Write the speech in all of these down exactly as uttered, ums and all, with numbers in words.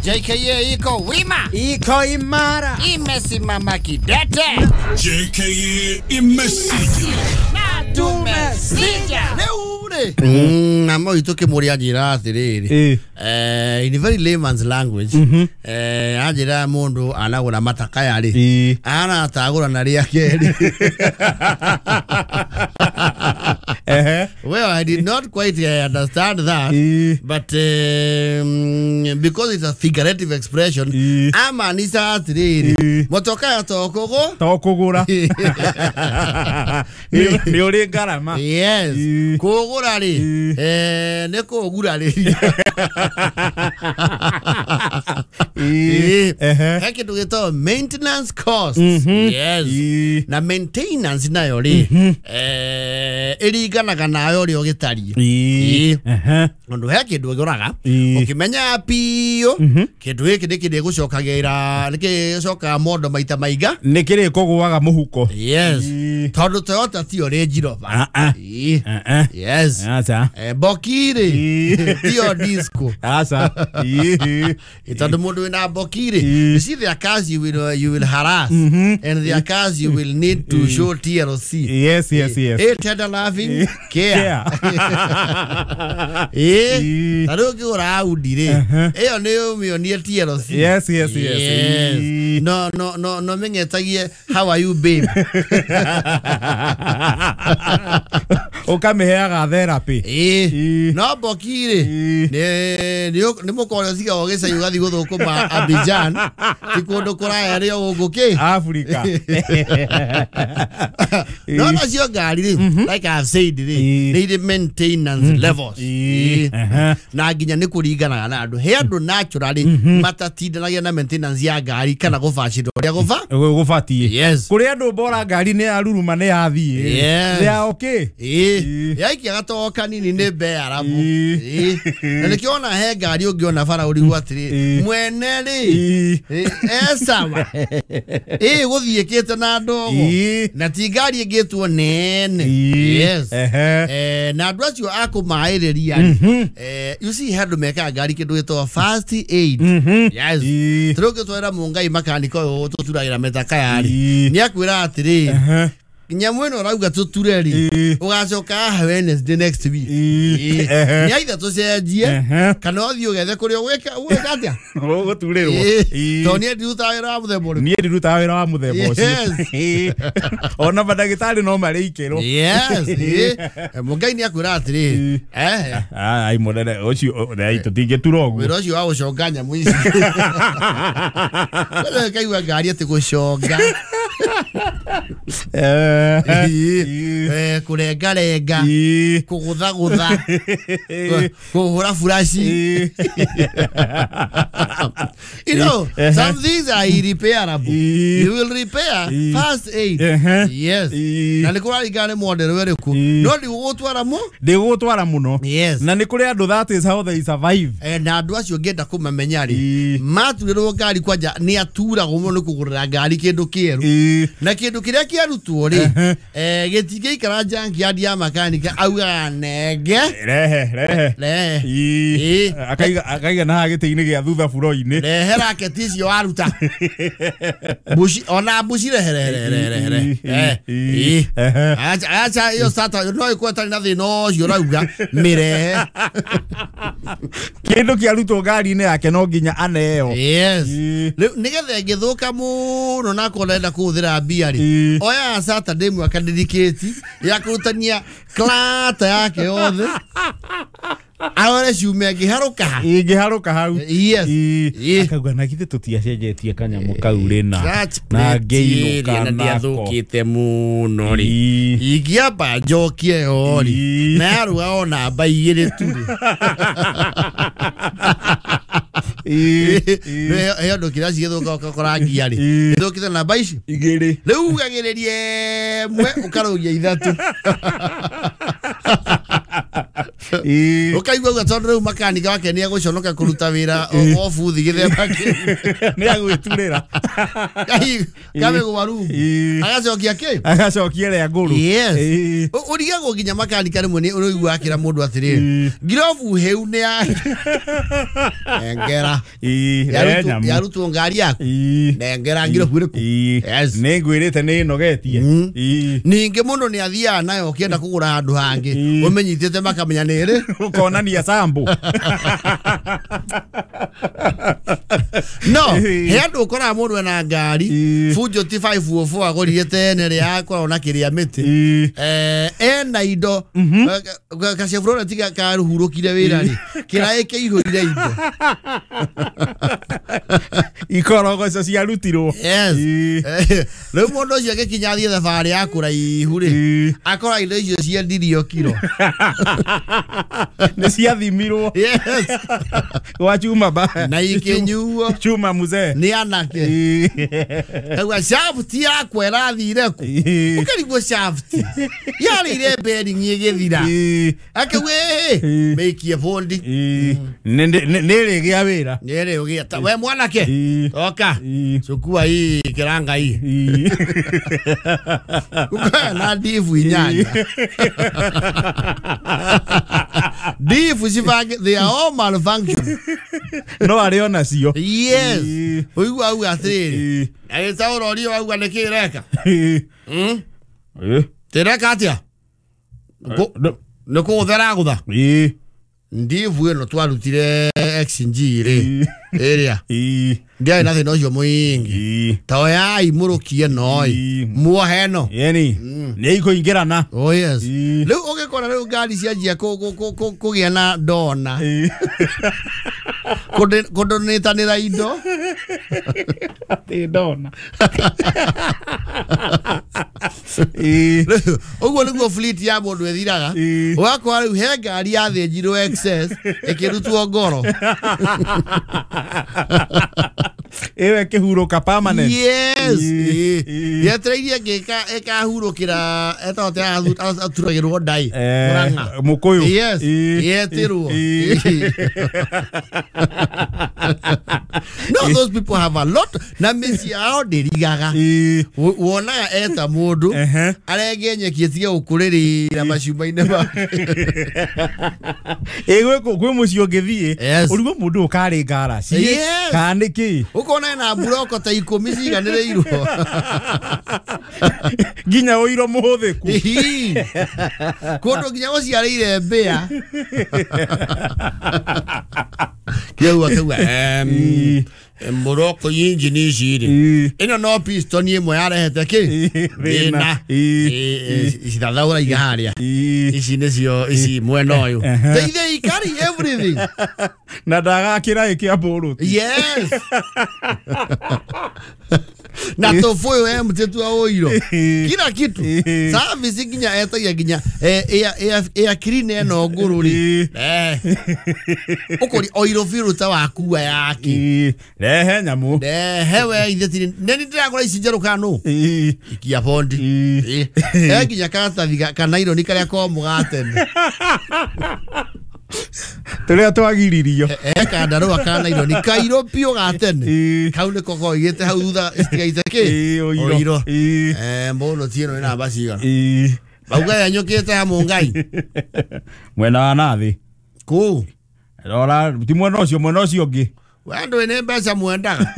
J K A iko wima, iko imara, imesimama kidete. J K A imesija na tumesija. Mm, na mo itoke muri ajira atiriri. Eh, in very layman's language. Eh, ajira mundu anagura matakaya ri. Ana tagura na ria keri. Eh. Well, I did not quite uh, understand that, e. but um, because it's a figurative expression, e. ama nisa atiriri. Motoka tokogo tokogura. Ni uri ngarama. Yes. Kugura ri. Eh, ne kugura ri. Eh. He kindu gito maintenance costs. Yes. Na maintenance nayo ri. Eh, iringanaga nawe uria ugitarie. Ii. Undu he kindu uguraga ukimenya piu kindu giki ni kiri gucokagira ni gicokaga mondo maita maiga ni kiri kugwaga muhuko. Yes. Tondu Toyota tio Range Rover. Ii. Yes. Acha. Bokiri tio disco. Acha. Ii. Tondu mundu wina bokiri, you see there are cars you will you will harass and there are cars you will need to show T L C. Yes, yes, yes. Eh, tender loving care. Eh, ta riu ngigura Audi ri, iyo ni umionie T L C. Yes, yes, yes. No, no, no, no mengetagie how are you babe. Ukamiheaga therapy. Eh, no bokiri ni ni mukore ciga ogicai ugathi guthukuma Abidjan ti kundu kuraya ri guku ki Africa. No, no cio ngari ri, like I have said ri, ni iri maintenance levels. Na nginya ni kuringanaga na andu. He andu naturally matatindanagia na maintenance ya ngari kana gubacĩrwo uria guba gubatie. Yes. Kuri andu bora ngari ni yaruruma ni yathie. Yes. Ya okay. Eh, yaikia gatogo kanini ni bearabu. Eh, na nikiona he ngari ungiona bara urigwo atiri mwene ri eh sawa. Eh, guthiikite na ndogo na ti ngari ingitwo nene. Yes. Eh, na andu acio akumairiria ri, eh, you see handu mekaga ngari kindu gitagwo first aid. Yes. Turiu ngitwara mungai makaniko uyu tuturagira metakaya ri, ni akwira atiri nyamu ino rauga tuture ri ugacoka Wednesday next week. Ni aitha tucenjie kana uthii ugethe kuria ugwika ugwika atia uguturirwo. To nie ndirutaga wira wa muthemba uriku. Nie ndirutaga wira wa muthemba ucio. Ona mandagitari no marĩikĩrwo. Yes. Mungai ni akwira atiri eh ai munene ucio ai tutingĩtura ũguo wira ucio wa guconga nyamu ici. Kwenda kaigua ngari ati guconga. Eh, kurenga renga, kugutha gutha, kuhura furashi. You know, some things are irreparable. You will repair first aid. Yes. Na nĩ kũraringana nĩ model ĩrĩkũ. No ndigũgũtwara mu? Ndigũgũtwara mũno. Yes. Na nĩ kũrĩ andũ that is how they survive. Eh, na andũ acio ngĩenda kũmamenya rĩ, maturĩrwo ngari kwanja nĩ aturagwo mũno nĩ kũgũrĩra ngari kĩndũ kĩerũ. Na kĩndũ kĩrĩa kĩarutwo rĩ, eh, gĩtingĩikara junkyard ya makanika augaga nenge. Rehe, rehe. Rehe. Akaiga akaiga na gĩtĩ-inĩ gĩa thutha buro-inĩ. Rehe raketi icio waruta. Bushi ona bushi rehe rehe rehe rehe. Eh. Acha acha iyo sata no ĩkorwo ĩtarĩ na thĩna ũcio ũrauga mĩrehe. Kĩndũ kĩarutwo ngari-inĩ yake no nginya aneo. Yes. Rĩu nĩgetha ĩngĩthũka mũno na akorwo ndĩrenda kũhũthĩra mbia rĩ, oya Saturday mwaka dedicate ya kũrutania klata yake yothe arore ciumia ĩngĩharũka ha ĩngĩharũka hau. Yes. Akauga na githĩ tũtiacenjetie kanyamũ kau rĩna na ngĩinũka na ndiathũkĩte mũno rĩ, ingĩamba njokie yo rĩ, na yaruga o namba igĩrĩ tu rĩ. Ĩyo ndũ kĩrĩa cigĩthũka ũgakora ngia rĩ, ĩthũkĩte namba ici igĩrĩ, rĩu ugagĩrĩria ĩmwe ũkarũgia ithatũ. Ũkaigua ũguo tondũ rĩu makanika wake nĩ egũconoka kũruta wĩra o buthi gĩthemba kĩu. Nĩ agwĩturĩra. Kamĩgwa rungu. Agacokia kĩ? Agacokia ĩrĩa ngũrũ. Yes. Ũrigagwo nginya makanika rĩmwe nĩ ũraigua akĩra mũndũ atĩrĩrĩ, ngirobu hĩu nĩ ya nengera. Yarutwo ngari yaku. Nengera ngirobu ĩrĩkũ? Yes. Nĩ ngwĩrĩte nĩ ĩnogetie. Ningĩ mũndũ nĩ athiaga nayo ũkĩenda kũgũra handũ hangĩ ũmĩnyitĩte makamenya nĩ ĩrĩ. Ũkonania sambo. No, he andũ ũkoraga mũndũ ena ngari Fujo T five oh four agũrire tene rĩa akoragwo na kĩrĩa mĩtĩ. Eh, ena indo ka Chevrolet karuhurũkire wĩra rĩ kĩraĩ kĩihũrire indo. Ikorogoco ciarutirwo. Yes. Rĩu mũndũ ũcio agĩkinya athiĩ thabarĩ ya kũraihu rĩ akora indo icio ciendirio kiro. Nĩ ciathimirwo. Yes. Gwa chuma ba. Na ikĩnyuo. Chuma mzee. Nĩ anake. Kauga shaft yakwa ĩrathire kũ? Ũkarigwo shaft yarĩire bearing ĩgĩthira. Akauga ĩĩ mĩikie bondi. Nĩ ĩrĩgĩa wĩra. Nĩ ĩrĩgĩa. We mwanake oka cukua hii kiranga hii. Ukae na divu inyanya. Divu cibange they are all malfunction. No arĩ ona cio. Yes. Ũigua auga atĩrĩrĩ agĩtaũra ũria wauga nĩkĩ ĩreka. Tĩreka atĩa? Nĩ kũgũtha ĩragũtha. Ndivu ĩno twarutire X G rĩ ĩrĩa ndiarĩ na thĩna ũcio mũingĩ ta oyai mũrũkie noi muohe ĩno yani nĩ ikũingĩrana. Oh yes. Rĩu ũgĩkora rĩu ngari cianjia kũgĩa na ndona kũndonĩtanĩra indo atĩ ndona. Ũguo nĩguo fleet ya mũndũ ĩthiraga. Ũgakora rĩu he ngari yathĩnjirwo excess ĩkĩrutwo ngoro. Ĩyo ĩkĩhurũka permanent. Yes. Yetereirie ĩngĩ ĩkahurũkĩra etagwo atĩa aturagĩrwo ndai Murang'a. Mũkũyũ. Yes. Yetĩrwo. No, those people have a lot. Na mĩciĩ yao ndĩrigaga. Wonaga eta mũndũ arenge nyeki ĩtige gũkũrĩrĩra macumba-inĩ make. Ĩ gwĩ mũciĩ ũngĩthiĩ ũrigwo mũndũ ũkarĩ ngaraci kana nĩkĩ. Ũkona ena mburoko ta ikũmi ciganĩrĩirwo. Nginya ũiro mũhũthĩku. Kũndũ nginya gũciarĩire mbĩa. Kĩu akauga mburoko injini ici rĩ ĩno no piston ĩmwe yarehete kĩ thĩna cithathaũra iga harĩa ici nĩcio ici mwena ũyũ. They they carry everything. Na ndagakĩra ĩkĩa mbũrũti. Yes. Na tũbũyũ empty tu ũiro kila kitu service nginya etagia nginya air clean ĩno ngũrũ rĩ ũkũri oiro filter wakua yake rehe nyamũ rehe we ithe tiri nĩ ndĩragũra ici njerũ kana nũ ikia bondi eh nginya karatathi ka naironi karĩa komũ ga tene tũrĩa twagiririo eh kandarũa ka naironi kairũ biũ ga tene kau nĩko koigĩte hau thutha citigaite kĩ ũiro eh mũno ti ĩno ĩ namba cigana bauga yanyũkĩte ha mũngai mwena wa nathĩ kũu rora ti mwena ũcio mwena ũcio ũngĩ we andũ nĩ mbeca mwendaga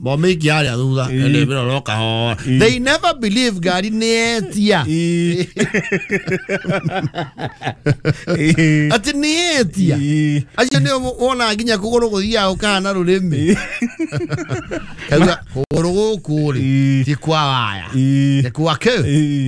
momĩikia harĩa thutha ĩndĩ mĩroro kahora. They never believe ngari nĩ etia. Atĩ nĩ etia acio nĩo wonaga nginya kũgũrũ gũthiaga gũkahana rũrĩmĩ. Kauga kũgũrũ gũkũ rĩ ti kwa waya nĩ kwa kĩ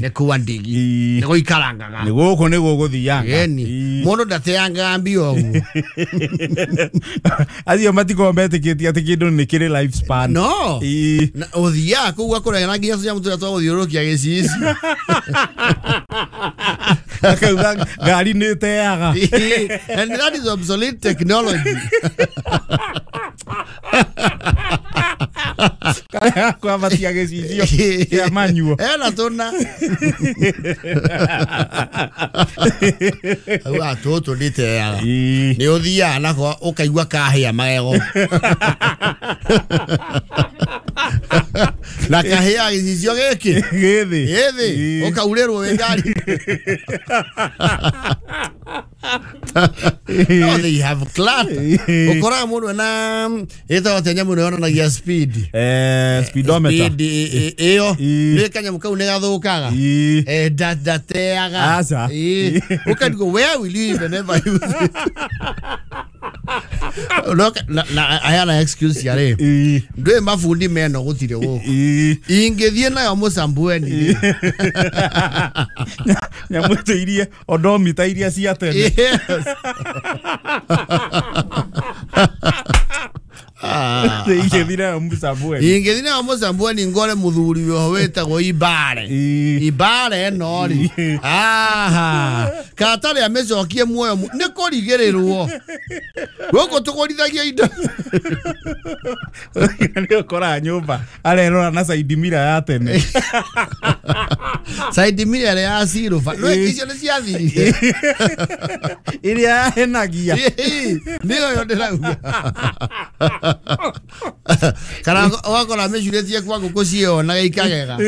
nĩ kwa ndigi nĩ gũikarangaga nĩ gũkũ nĩ gũgũthianga. Ĩni mũndũ ndateangaga mbia ũguo. Acio matikoragwo metĩkĩtie atĩ kĩndũ nĩ kĩrĩ life span. No. Ũthiaga kũu ũgakora nginya tũnyamũ tũrĩa twa gũthiũrũrũkia gĩcicio. Akauga ngari nĩ ĩteaga. And that is obsolete technology. Kwambatia gĩcicio kĩa manyuo. Ena tũna. Auga tũtũ nditeaga. Nĩ ũthiaga nako ũkaigua kahĩa magego. Na kahĩa gĩcicio gĩkĩ gĩthĩ gĩthĩ ũkaurĩrwo wĩ ngari. No, they have clutter. Ũkoraga mũndũ ena ĩtagwo atĩa nyamũ ĩno yonanagia speed. Eh, speedometer. Speed ĩyo nĩ kanyamũ kau nĩ gathũkaga. Eh, ndateaga. Aca. Ũkarigwo where will you even ever use it? Look, na na ayana excuse ya rĩ. Ndwĩ mabundi meno gũtirĩ gũkũ. Ingĩthiĩ nayo Mũcambueni. Nyamũ iria odomita iria cia tene. Yes. Ingĩthiĩ nayo Mũcambueni. Ingĩthiĩ nayo Mũcambueni ngore mũthuri wĩho wĩtagwo Ibare. Ibare ĩno rĩ. Aha. Katarĩ amĩcokie muoyo nĩ kũrigĩrĩrwo. Gũkũ tũgũrithagia indo. Nĩ ũkoraga nyũmba arerora na side mirror ya tene. Side mirror ĩrĩa ya silver. No icio nĩ ciathirire. Ĩrĩa yahenagia. Nĩyo yo ndĩrauga. Kana ũgakora mĩcurĩtie kwa ngũkũ ciĩonaga ikagega.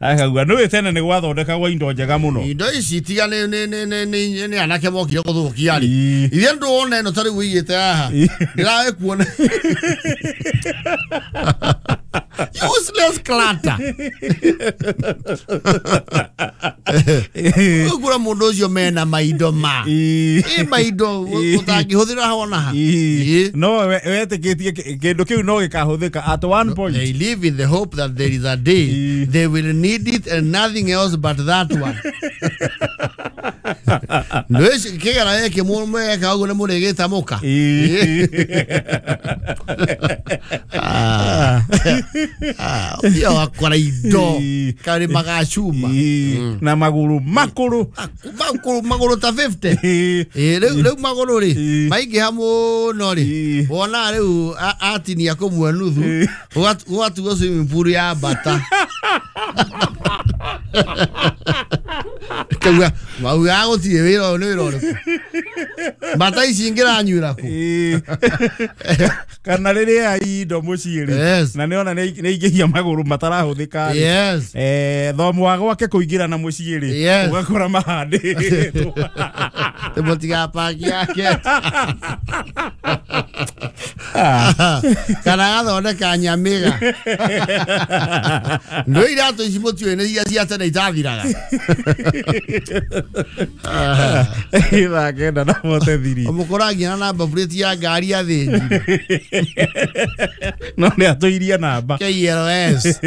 Akauga nĩũĩ tene nĩ gwathondekagwo indo njega mũno. Indo ici tiga nĩ nĩ nĩ nĩ nĩ anake mokire gũthũkia rĩ. Ithe ndũona ĩno ta rĩu ũigĩte haha. Ndĩrawe kuona. Useless clutter. Ũgũra mũndũ ũcio mena maindo ma. Ĩ maindo ũtangĩhũthĩra hona ha. No wetĩkĩtie kĩndũ kĩu no gĩkahũthĩka at one point. They live in the hope that there is a day they will need it and nothing else but that one. Nĩ kĩgera gĩkĩ mweka ũguo nĩ mũrĩgĩta mũka. Ah, ũthiaga ũgakora indo karĩ magacuma na magũrũ makũrũ makũrũ magũrũ ta fifty. Rĩu rĩu magũrũ rĩ maingĩha mũno rĩ wona rĩu atinia kũmwe nuthu ũgatuo swimming pool ya mbata. Kauga mauga gũtirĩ wĩra ũyũ nĩ wĩra ũrĩkũ. Mbata ici ingĩranyuĩra kũ. Kana rĩrĩa indo mũciĩ rĩ na nĩona nĩ ingĩhia magũrũ matarahũthĩka rĩ. Yes. Eh, thomo wa gwake kũingĩra na mũciĩ rĩ ũgakora mahandĩtwo. Mũtigapaki yake. Kana gathondeka nyamĩga. Nĩ iratũ ici mũtiũĩ nĩ iria cia tene itathiraga. Ithaa kenda na bote thiri. Ũmũkoragia na namba plate ya ngari athĩnjire. No nĩ atũirie namba. K L S.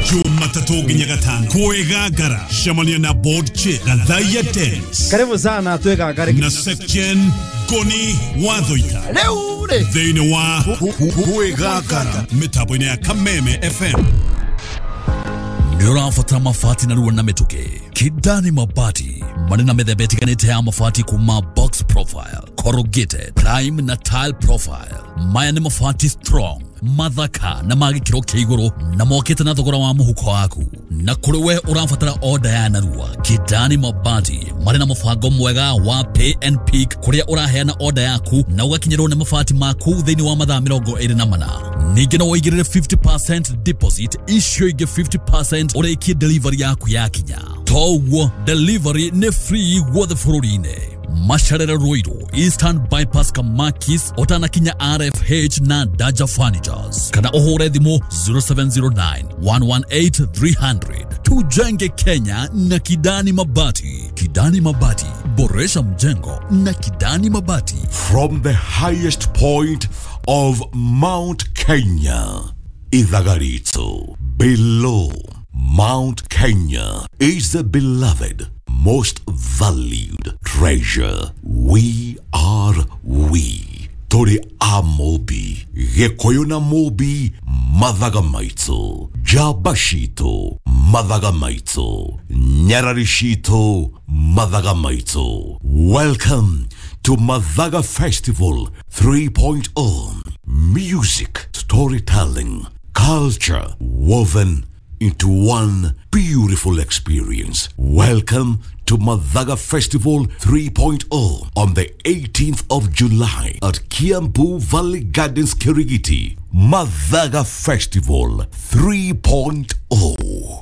Jumatatũ nginya gatano kwĩgangara cemania na board chair Gathaiya Dennis. Karibu sana twĩgangare na section Koni Wathoita. Rĩu rĩ thĩinĩ wa kwĩgangara mĩtambo-inĩ ya Kameme F M. Nĩ ũrabatara mabati narua na mĩtũkĩ. Kidani Mabati marĩ na mĩthemba ĩtiganĩte ya mabati kuma box profile, corrugated, prime na tile profile. Maya nĩ mabati strong, mathaka na ma gĩkĩro kĩa igũrũ na mokĩte na thogora wa mũhuko waku. Na kũrĩ we ũrabatara order ya narua, Kidani Mabati marĩ na mũbango mwega wa pay and pick kũrĩa ũraheana order yaku na ũgakinyĩrwo nĩ mabati maku thĩinĩ wa mathaa mĩrongo ĩrĩ na mana. Ningĩ no ũigĩrĩre fifty percent deposit, icio ingĩ fifty percent ũrĩkie delivery yaku yakinya. Toguo delivery nĩ free guothe bũrũri-inĩ. Masharere Ruiru, Eastern Bypass Kamakis, ũtanakinya R F H na Daja Furnitures. Kana ũhũre thimũ zero seven zero nine, one one eight, three hundred. Tujenge Kenya na Kidani Mabati. Kidani Mabati, boresha mjengo na Kidani Mabati. From the highest point of Mount Kenya, Ithagarito, below Mount Kenya is the beloved, most valued treasure. We are we. Tori amobi, Gĩkũyũ na Mũmbi, mathaga maitũ, njamba citũ, mathaga maitũ, nyarari citũ, mathaga maitũ. Welcome to Mathaga Festival three point oh. Music, storytelling, culture woven into one beautiful experience. Welcome to Mathaga Festival three point oh on the eighteenth of July at Kiambu Valley Gardens, Kirigiti. Mathaga Festival three point oh.